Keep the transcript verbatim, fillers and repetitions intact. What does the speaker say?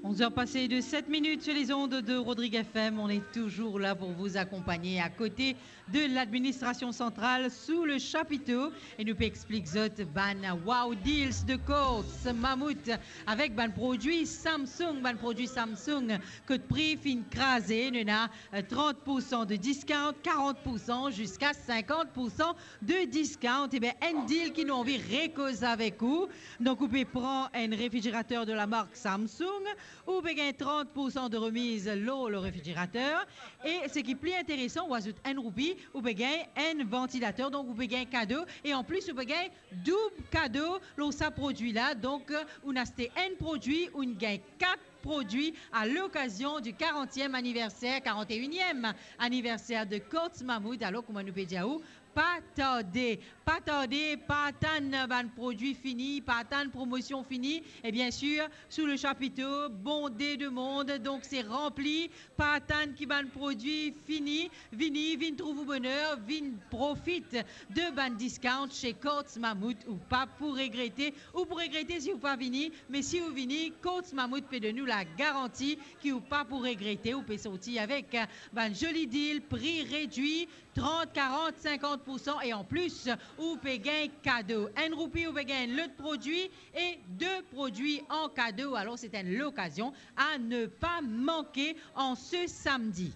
Onze heures passées de sept minutes sur les ondes de Rodrigue F M. On est toujours là pour vous accompagner à côté de l'administration centrale sous le chapiteau. E nou pe explik zot bann wow deals de Courts Mammouth avek bann prodwi Samsung, bann prodwi Samsung kot pri finn kraze, nou ena, euh, trente pour cent de discount, quarante pour cent jusqu'à cinquante pour cent de discount. Eben, enn deal ki nou anvi rekoz avek ou. Donk, ou pe pran enn refrigerateur de la marque Samsung, ou pe gagn trente pour cent de remise lor le réfrigérateur. E seki pli interesan, ou azout enn roupi, ou pe gagn enn vantilater, donk ou pe gagn kado, e anplis ou pe gagn doub kado lor sa prodwi la. Donk, ou aste enn prodwi, ou gagn kat prodwi à l'occasion du quarantième anniversaire, quarante et unième anniversaire de Courts Mammouth. Alor, kouma nou pe dir ou, pa tarde, pa tarde, pa atann bann prodwi fini, pa atann promosion fini. E bien sûr, sous le chapiteau, bondé de monde, donk se ranpli, pa atann ki bann prodwi fini. Vini, vinn trouv ou boner, vinn profit de bann discount chez Courts Mammouth. Ou pa pou regrete, ou pou regrete si ou pa vini, me si ou vini, Courts Mammouth pe donn ou la garanti ki ou pa pou regrete. Ou pe sorti avek, euh, bann zoli deal, pri redwi, trente, quarante, cinquante pour cent, e anplis, ou pe gagn kado. Enn roupi, ou pe gagn lot prodwi, e de prodwi an kado. Alor, c'est une occasion à ne pas manquer en ce samedi.